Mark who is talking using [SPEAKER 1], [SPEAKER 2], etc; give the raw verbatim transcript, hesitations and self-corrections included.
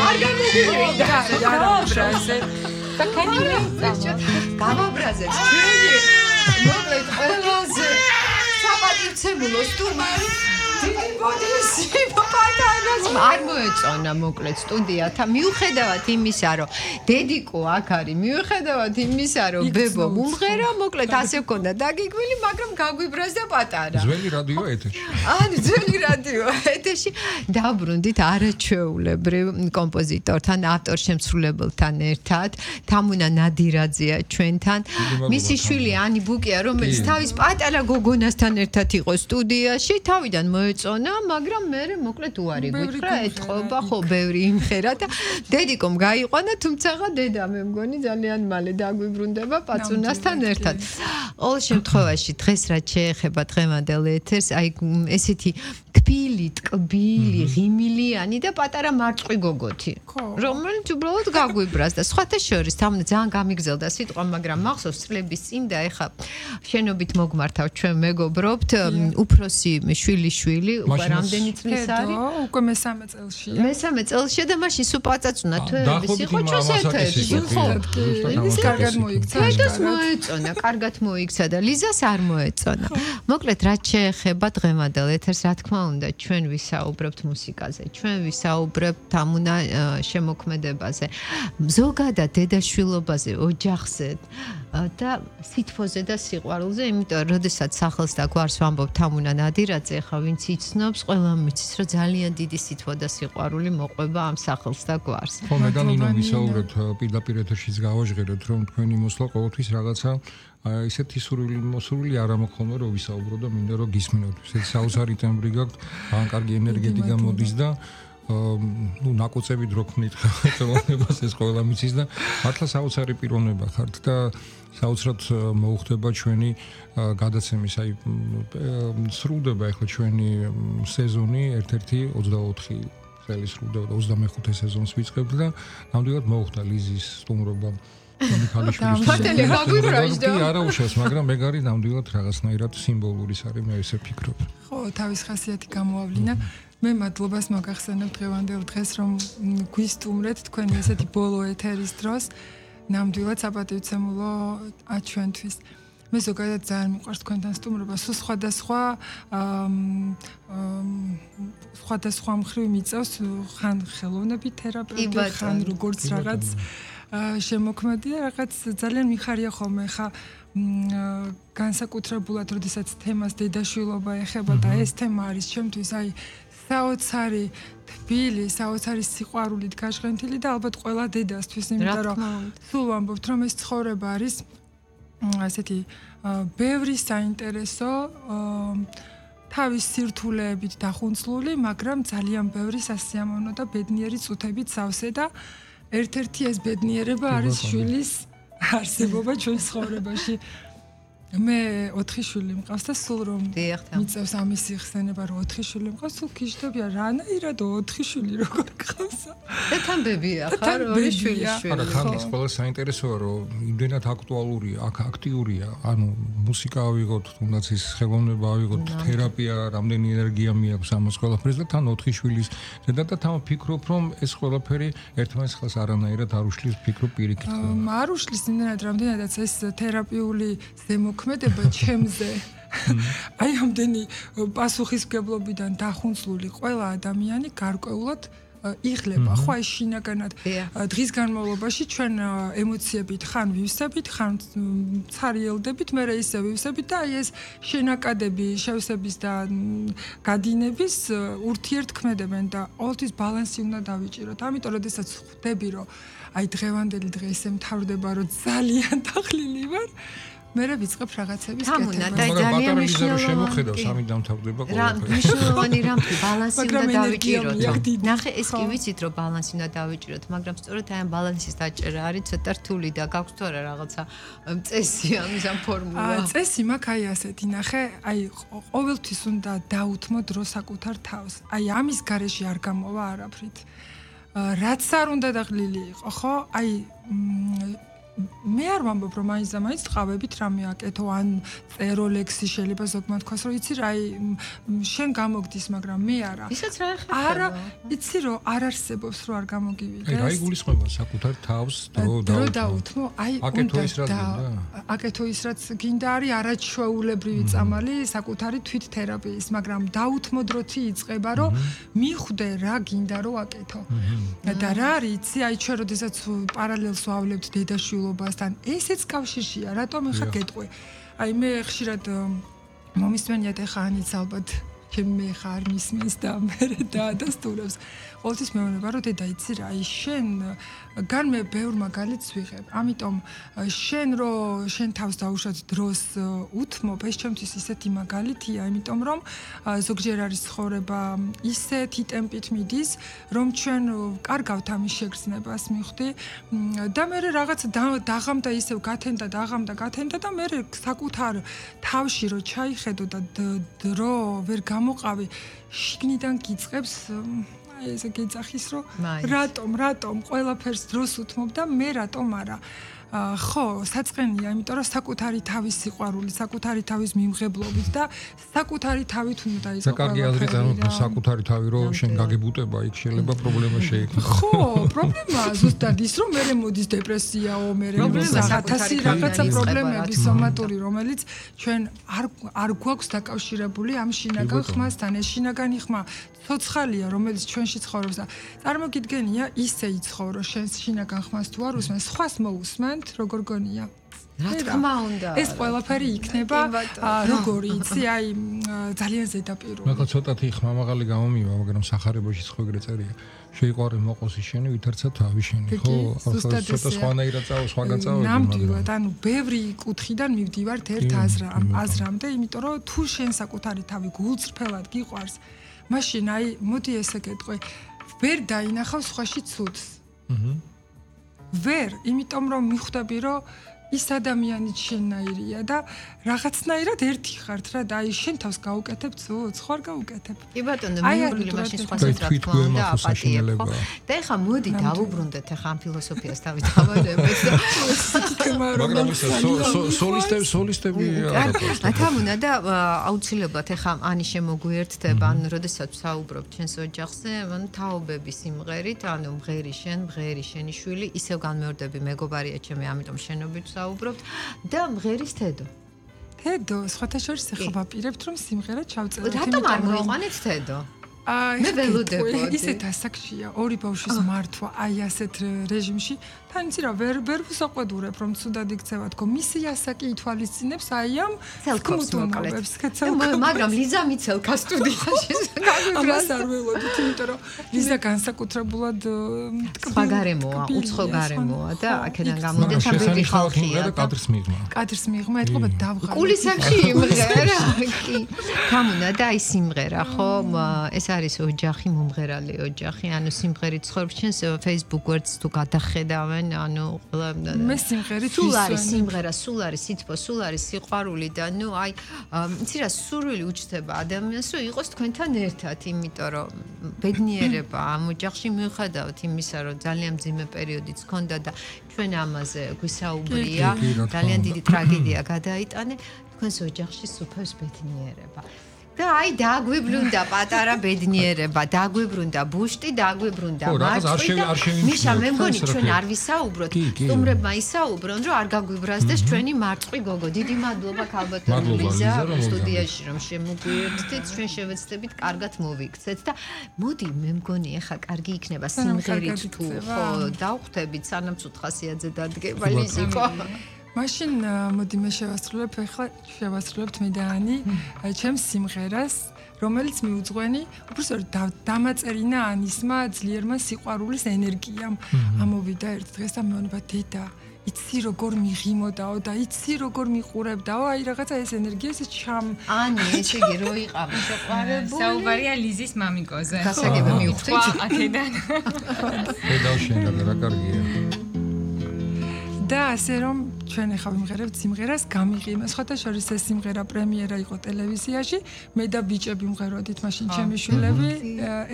[SPEAKER 1] არ გამოგივიდა არაბრაზე და კანიმეცა გამაბრაზებს ჩვენი მოკლედ ყველაზე საპატივცემულო სტუმარი დიდი ბოდიში პატარას არ მოეწონა მოკლედ სტუდიათა მიუხედავად იმისა რომ დედიკო აქ არის მიუხედავად იმისა რომ ბებო მომღერა მოკლედ ასე ვქონდა დაგიგვილი მაგრამ გაგვიბრაზდა პატარა
[SPEAKER 2] ძველი რადიო ეთერში
[SPEAKER 1] ანუ ძველი რადიო ეთერში დაბრუნდით არაჩვეულებრივ კომპოზიტორთან ავტორ-შემსრულებელთან ერთად თამუნა ნადირაძეა ჩვენთან მისი შვილი ანი ბუკია რომელიც თავის პატარა გოგონასთან ერთად იყო სტუდიაში თავიდან მოეწონა მაგრამ მე მოკლედ უარი გითხრა ეთყობა ხო ბევრი იმხერა და დედიკომ გაიყვანა თუმცა დედა მე მგონი ძალიან მალე დაგვიბრუნდება პაცუნასთან ერთად ყოველ შემთხვევაში დღეს რაც შეეხება დღევანდელ ეთერს აი ესეთი თბილი ტკბილი ღიმილიანი და პატარა მარწყვი გოგოთი რომელიც უბრალოდ გაგვიბრაზდა სხვათა შორის თამნა ძალიან გამიგზელდა სიტყვა მაგრამ მახსოვს წლების წინ და ეხა შენობით მოგმართავ ჩვენ მეგობრობთ უფროსი შვილი შვილი უკვე რამდენი წლის არის
[SPEAKER 3] უკვე მესამე წელშია
[SPEAKER 1] მესამე წელშია და მაშინ სულ პაწაწუნა თვეების იყო ჩვენს ეთერში ხო
[SPEAKER 3] ის კარგად მოიქცა
[SPEAKER 1] თედას მოეწონა კარგად მოიქცა და ლიზას არ მოეწონა მოკლედ რაც შეეხება დღევანდელ ეთერს რა თქმა უნდა ჩვენ ვისაუბრებთ მუსიკაზე ჩვენ ვისაუბრებთ თამუნა შემოქმედებაზე ზოგადად დედაშვილობაზე ოჯახზე და სითფოზე და სიყვარულზე იმიტომ როდესაც სახელს და გვარს ვამბობ თამუნა ნადირაძე ხა ვინც იცნობს ყველა მიცის რომ ძალიან დიდი სითბო და სიყვარული მოყვება ამ სახელს და გვარს
[SPEAKER 2] ხო მე და ნინო ვისაუბრებთ პირდაპირ ეთერშიც გავაჟღეროთ რომ თქვენი მოსვლა ყოველთვის რაღაცა ისეთი სურვილი მოსურვილი არ ამოხონო რომ ვისაუბრო და მინდა რომ გისმინოთ ესეთი საოცარი ტემბრი გაქვთ ან კარგი ენერგეტიკა მოდის და ну ნაკუწები დროქნით ხელოვნებას ეს ყველა მიცის და მართლა საოცარი პიროვნება ხართ და საოცრად მოუხდება ჩვენი გადაცემის აი სრულდება ახლა ჩვენი სეზონი ერთ-ერთი ოცდაოთხი წელი სრულდება და ოცდამეხუთე სეზონს ვიწყებთ და ნამდვილად მოუხდა ლიზის სტუმრობა მიხალიშვილის
[SPEAKER 1] ფართელი გაგვიბრაჟდა
[SPEAKER 2] არა უშავს მაგრამ მე გარი ნამდვილად რაღაცნაირად სიმბოლური არის მე ესე ფიქრობ
[SPEAKER 3] ხო თავის ხასიათი გამოავლინა მე მადლობას მოგახსენებ დღევანდელ დღეს რომ გვისტუმრეთ თქვენი ესეთი ბოლო ეთერის დროს ნამდვილად საპატივცემულო ჩვენთვის მე ზოგადად ძალიან მიყვარს თქვენთან სტუმრობა სულ სხვადასხვა სხვადასხვა მხრივ მიწევს ხან ხელოვნებით თერაპევტი ხან როგორც რაღაც შემოქმედია რაღაც ძალიან მიხარია ხოლმე ხა განსაკუთრებულად როდესაც თემას დედაშვილობა ეხება და ეს თემა არის ჩემთვის აი საოცარი თბილი, საოცარი სიყვარულით გაშღენთილი და ალბათ ყველა დედასთვის, იმიტომ რომ სულ ვამბობთ, რომ ეს ცხოვრება არის ასეთი ბევრი საინტერესო თავის სირთულეებით დახუნცლული, მაგრამ ძალიან ბევრი სასიამოვნო და ბედნიერი წუთებით სავსე და ერთ-ერთი ეს ბედნიერება არის შვილის არსებობა ჩვენ ცხოვრებაში. მე ოთხი შვილი მყავს და სულ რომ მიწევს ამის იხსენება რომ ოთხი შვილი მყავს სულ გიждებია რანაირად ოთხი შვილი როგორ გყავს
[SPEAKER 1] და თამბებია ხარ ორი შვილი შვილი
[SPEAKER 2] არა თან ის ყველა საინტერესოა რომ იმდენად აქტუალურია აქ აქტიურია ანუ მუსიკა ავიღოთ თუნდაც ის ხელოვნება ავიღოთ თერაპია რამდენი ენერგია მიაქვს ამას ყველაფერს და თან ოთხი შვილის ზედა და თან ვფიქრობ რომ ეს ყველაფერი ერთმანეთს ხელს არანაირად არ უშლის ვფიქრობ პირიქით
[SPEAKER 3] არ უშლის იმდენად რამდენადაც ეს თერაპიული ზემო ქმედება ჩემზე აი ამდენი პასუხისმგებლობიდან დახუნცლული ყველა ადამიანი გარკვეულად იღლება ხო აი შინაგანად დღის განმავლობაში ჩვენ ემოციებით ხან ვივსებით ხან ცარიელდებით მე ისე ვივსებით და აი ეს შენაკადები შევსების და გადინების ურთიერთქმედებენ და ყოველთვის ბალანსი უნდა დავიჭიროთ ამიტომ როდესაც ხვდები რომ აი დღევანდელი დღე ისე მთავრდება რომ ძალიან დახლილი ვარ მე რა ვიწყებ რაღაცების
[SPEAKER 1] კეთება. და ძალიან მნიშვნელოვანი
[SPEAKER 2] შემოხედავს სამი დამთავრდება
[SPEAKER 1] ყოველთვის. რა მნიშვნელოვანი რამე ბალანსი უნდა დავიჭიროთ. ნახე ეს კი ვიცით რომ ბალანსი უნდა დავიჭიროთ, მაგრამ სწორედ აი ამ ბალანსის დაჭერა არის ცოტა რთული და გაქვს თუ არა რაღაცა წესი ამის ამ ფორმულა.
[SPEAKER 3] აა წესი მაქვს აი ასეთი ნახე, აი ყოველთვის უნდა დაუთმო დრო საკუთარ თავს. აი ამის გარეშე არ გამოვა არაფრით. რაც არ უნდა დაღლილი იყო, ხო? აი მე არ ვამბობ რომ მაინც და მაინც ტყავებით რამე აკეთო ან წერო ლექსი შეიძლება ზოგმა თქვას რომ იცი რა აი შენ გამოგდის მაგრამ მე არა
[SPEAKER 1] ისაც რა ეხება
[SPEAKER 3] არა იცი რომ არ არსებობს რომ არ გამოგივიდეს
[SPEAKER 2] აი რა იგულისხმება საკუთარ თავს
[SPEAKER 3] დრო დაუთმო აი
[SPEAKER 2] აკეთო ის რაც
[SPEAKER 3] აკეთო ის რაც გინდა არის არაჩვეულებრივი წამალი საკუთარი თვით თერაპიის მაგრამ დაუთმო დროთი იწყება რომ მიხვდე რა გინდა რომ აკეთო და რა არის იცი აი ჩვენ როდესაც პარალელს ვავლებთ დედაშვილობასთან ესეც კავშირშია რატომ ახლა გეტყვი აი მე ხშირად მომისმენიათ ახლა ანიც ალბათ მე ხარ მისმის და მე დაადასტურებს ყოველთვის მეუბნება რომ დედა იცი რა აი შენ გან მე ბევრ მაგალითს ვიღებ ამიტომ შენ რო შენ თავს დაუშვათ დროს უთმობ ეს ჩემთვის ისეთი მაგალითია იმიტომ რომ ზოგჯერ არის ცხოვრება ისეთი ტემპით მიდის რომ ჩვენ კარგავთ ამის შეგრძნებას მივხვდი და მე რაღაც დაღამდა ისევ გათენდა დაღამდა გათენდა და მე საკუთარ თავში რო ჩაიხედო და დრო ვერ გამოყავი შიგნიდან გიწყებს ესე გეძახის რომ რატომ რატომ ყველაფერს დროს უთმობ და მე რატომ არა ხო საწყენია იმიტომ რომ საკუთარი თავის სიყვარული საკუთარი თავის მიმღებლობით და საკუთარი თავით უნდა
[SPEAKER 2] და
[SPEAKER 3] იყო
[SPEAKER 2] კარგი აზრით ანუ საკუთარი თავი რომ შენ გაგებუტება იქ შეიძლება პრობლემა შეექმნა
[SPEAKER 3] ხო პრობლემა ზუსტად ის რომ მე მოდის დეპრესიაო მე ათასი რაღაცა პრობლემები სომატური რომელიც ჩვენ არ არ გვაქვს დაკავშირებული ამ შინაგან ხმასთან ეს შინაგანი ხმა ცოცხალია რომელიც ჩვენში ცხოვრობს და წარმოგიდგენია ისე იცხოვრო შენ შინაგან ხმას თუ არ უსმენ სხვას მოусმენთ როგორ გონია
[SPEAKER 1] რა თქმა უნდა
[SPEAKER 3] ეს ყველაფერი იქნება როგორი იცი აი ძალიან ზედაპირული
[SPEAKER 2] მაგა ცოტათი ხმამაღალი გამომივა მაგრამ სახარებაში ხო ეგრე წერია შეიყვარე მოყოსი შენი ვითარცა თავი შენი ხო ახლა ცოტა სხვანაირად წავა სხვაგან წავა
[SPEAKER 3] ნამდვილად ანუ ბევრი კუთხიდან მივდივართ ერთ აზრამდე იმიტომ რომ თუ შენ საკუთარი თავი გულწრფელად გიყვარს მაშინ აი მოდი ესე გეტყვი ვერ დაინახავ სხვაში ცუდს აჰა ვერ იმიტომ რომ მიხვდები რომ ის ადამიანი შენნაირია და რაღაცნაირად ერთი ხართ რა და აი შენ თავს გაუკეთებ ცუდს ხო არ გაუკეთებ
[SPEAKER 1] კი ბატონო მიუღლი მაშინ სხვასაც რა თქმა უნდა აპატიებ ხო და ეხა მოდი დავუბრუნდეთ ეხა ამ ფილოსოფიას თავით ავადებით
[SPEAKER 2] მაგრამ ის სოლისტები სოლისტები
[SPEAKER 1] რა თამუნა და აუცილებლად ეხა ანი შემოგვიერთდება ან როდესაც საუბრობ ჩვენს ოჯახზე ანუ თაობების სიმღერით ანუ მღერი შენ მღერი შენი შვილი ისევ განმეორდები მეგობარია ჩემი ამიტომ შენობით საუბრობთ და მღერის თედო
[SPEAKER 3] თედო სხვათა შორის ახლა ვაპირებთ რომ სიმღერა ჩავწეროთ
[SPEAKER 1] რატომ არ მოიყვანეთ თედო
[SPEAKER 3] აი
[SPEAKER 1] მე ველოდებოდი
[SPEAKER 3] ისეთ ასაკშია ორი ბავშვის მართვა აი ასეთ რეჟიმში თან იცი რა ვერ ვერ ვუსაყვედურებ რომ ცუდად იქცევა თქო მისი ასაკი ითვალისწინებს აი ამ
[SPEAKER 1] ცელქოს მოკლედ მაგრამ ლიზა მიცელქა სტუდიაში
[SPEAKER 3] ამას არ ველოდით იმიტომ რომ ლიზა განსაკუთრებულად
[SPEAKER 2] სხვა
[SPEAKER 1] გარემოა უცხო გარემოა და აქედან გამომდის ამ ბედი ხალხია
[SPEAKER 2] კადრს მიღმა
[SPEAKER 3] კადრს მიღმა ეთქობა დავღალე
[SPEAKER 1] კულისებში იმღერა კი გამუნა და აი სიმღერა ხო ეს არის ოჯახი მომღერალი ოჯახი ანუ სიმღერით ცხოვრობს ჩვენს Facebook გვერდს თუ გადახედავენ ანუ
[SPEAKER 3] მე სიმღერით
[SPEAKER 1] სულ არის სიმღერა სულ არის სითბო სულ არის სიყვარული და ნუ აი იცი რა სურვილი უჩნდება ადამიანს რომ იყოს თქვენთან ერთად იმიტომ რომ ბედნიერება ამ ოჯახში მიუხედავად იმისა რომ ძალიან მძიმე პერიოდიც ჰქონდა და ჩვენ ამაზე გვისაუბრია ძალიან დიდი ტრაგედია გადაიტანე თქვენს ოჯახში სუფევს ბედნიერება და აი დაგვიბრუნდა პატარა ბედნიერება, დაგვიბრუნდა ბუშტი, დაგვიბრუნდა მარწყვი და მიშა მე მგონი ჩვენ არ ვისაუბროთ, სტუმრებმა ისაუბრონ, რომ არ გაგვიბრაზდეს ჩვენი მარწყვი გოგო. დიდი მადლობა ქალბატონო ლიზა სტუდიაში რომ შემოგვიერთდით, ჩვენ შევეცდებით კარგად მოვიქცეთ და მოდი მე მგონი ახლა კარგი იქნება სიმღერით თუ ხო დავხვდებით სანამ ცუთხასიაძე დადგება ლიზიკო.
[SPEAKER 3] მაშინ მოდი მე შევასრულებ ახლა შევასრულებთ მე და ანი ჩემს სიმღერას რომელიც მიუძღვენი უბრალოდ დამაწერინა ანისმა ძლიერმა სიყვარულის ენერგიამ ამოვიდა ერთ დღეს და მეუბნება დედა იცი როგორ მიღიმოდაო და იცი როგორ მიყურებდაო აი რაღაცა ეს ენერგია ეს ჩამ
[SPEAKER 1] ანი ესე იგი რო იყავი შეყვარებული
[SPEAKER 4] საუბარია ლიზის მამიკოზე
[SPEAKER 1] გასაგები მივხვდით
[SPEAKER 4] აქედან
[SPEAKER 2] დედავშენ რა კარგია
[SPEAKER 3] და ასე რომ ჩვენ ახლა ვიმღერებთ სიმღერას გამიღიმა. სხვათა შორის ეს სიმღერა პრემიერა იყო ტელევიზიაში. მე და ბიჭები ვმღეროდით მაშინ ჩემი შვილები